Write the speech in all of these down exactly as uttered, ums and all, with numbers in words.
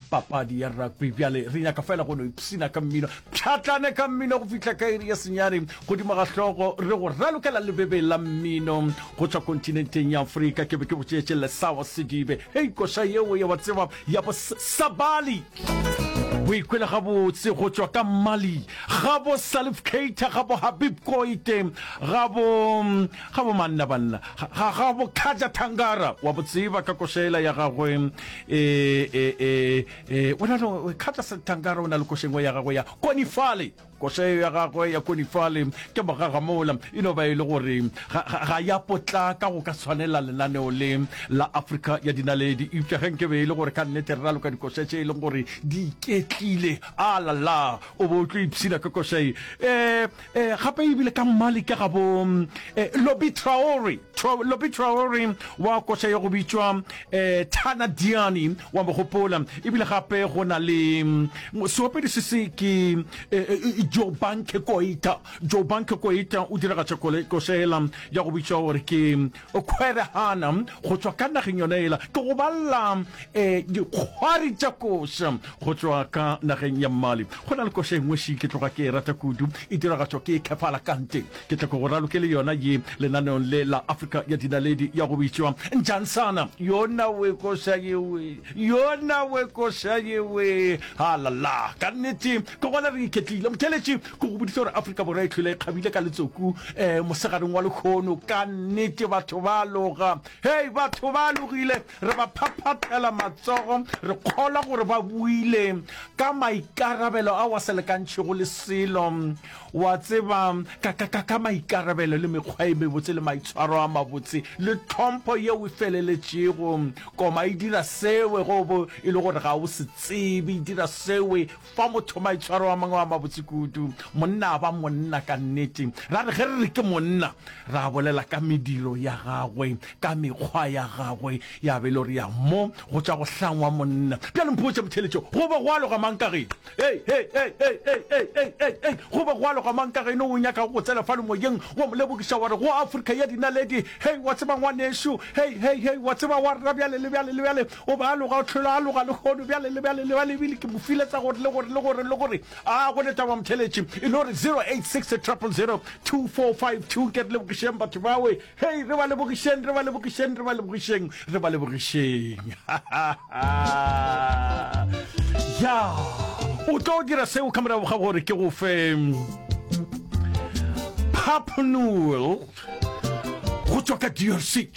papadi ya rugby. Bjale re nyaka fela go no ipshina ka mmino, pšhatlane ka mmino go fihla ka iri ya senyane godimo ga hlogo, re go ralokela lebebe la mmino go tšwa kontinenteng ya Afrika. Ke be ke botšeetše Lesawa Sedibe, hei, koša yeo ya wa tseba ya bo Sabali, o ikwele gabotse go tšwa ka Mali, ga bo Salif Keita, ga bo Habib Koite, ga bo ga bo manna banna, ga ga bo Kaja Tangara, wa bo tseba ka košela ya gagwe, e e e e o na le Kaja Tangara, o na le košengwe ya gagwe ya Konifale. Koša yeo ya gagwe ya Konifale ke mogagamola, e no ba e le gore ga, ga, ga ya potlaka go ka tshwanela lenaneo le la Afrika ya Dinaledi. Eupša ge nke be e le gore ka nnete re raloka dikoša tše e leng gore di iketlile, a la la, o be o tlo ipshina ka koša ye. E, e, gape ebile ka Mali ke gabo e, Lobi Traore, Tro, Lobi Traore wa koša ye go bitšwa e, Tana Diani, wa mo gopola. Ebile gape go na le seopedi se se ke e, e, Jobanke Koita. Jobanke Koita o diragatša košela ya go bitšwa gore ke Kgwerehana go tšwa ka nageng yona ela. Ke go balla um dikgwari tša koša go tšwa ka nageng ya Mali. Go na le koša e nngwe ši ke tloga ke e rata kudu, e diragatšwa ke Kefala Kante. Ke tla ke go raloke le yona ye lenaneong le la Afrika ya Dinaledi ya go bitšwa Njansana. Yona we koša yewe, yona we koša yewe, halala, ka nnete ke gona re iketlile. Motheeletši, ke go boditše gore Afrika Borwa e hlwele e kgabile ka letsoku um mosegareng wa lehono. Ka nnete batho ba loga. Hei, batho ba logile, re ba phaphathela matsogo, re kgolwa gore ba buile ka maikarabelo ao a sa lekantšhego le selo, wa tseba, ka, ka, ka, ka maikarabelo le mekgwa e mebotse le maitshwaro a mabotse le tlhompho yeo e feleletšego. Koma e dira sewe ge o bo e le gore ga o se tsebe, e dira sewe fa motho maitshwaro a mangwe a mabotse kudu. Monna a ba monna ka nnete. Ra re ge re re ke monna, ra bolela ka mediro ya gagwe, ka mekgwa ya gagwe, ya be e le gore ya mo go tša go hlangwa monna. Bjale mpotše motheeletšo, go be go aloga mang ka geno? Hei, hei, hei, hei, hei, hei, hei, hei, hei, go be go aloga mang ka geno o nyakago go tsena fale moyeng wa mo lebogiša wa re go Afrika ya dinaledi, hei, wa tseba ngwanešu, hei, hei, hei, wa tseba wa rra bjale le bjale le bjale, o be a loga, o hlola a loga lehono bjale le bjale le bjale, ebile ke mo file tsa gore le gore le gore le gore. A go ne taba motheeletši, e no re zero eight six triple zero two four five two, nke re lebogišeng batho bawe. Hei, re ba lebogišeng, re ba lebogišeng, re ba lebogišeng, re ba lebogišeng. Ya, o tlo dira seo ka morago ga gore ke go fe Pap Noel go tšwa ka D R C.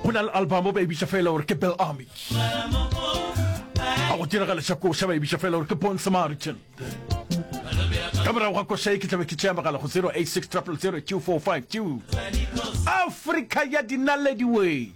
Go na le album ba e bitša fela gore ke Bell Army. A go diragaleša koša ba e bitša fela gore ke Bon Samaritan. Ka morago ga koša ye ke tlabe ke tšea mogala go zero eight six triple zero two four five two. Afrika ya dinaledi we.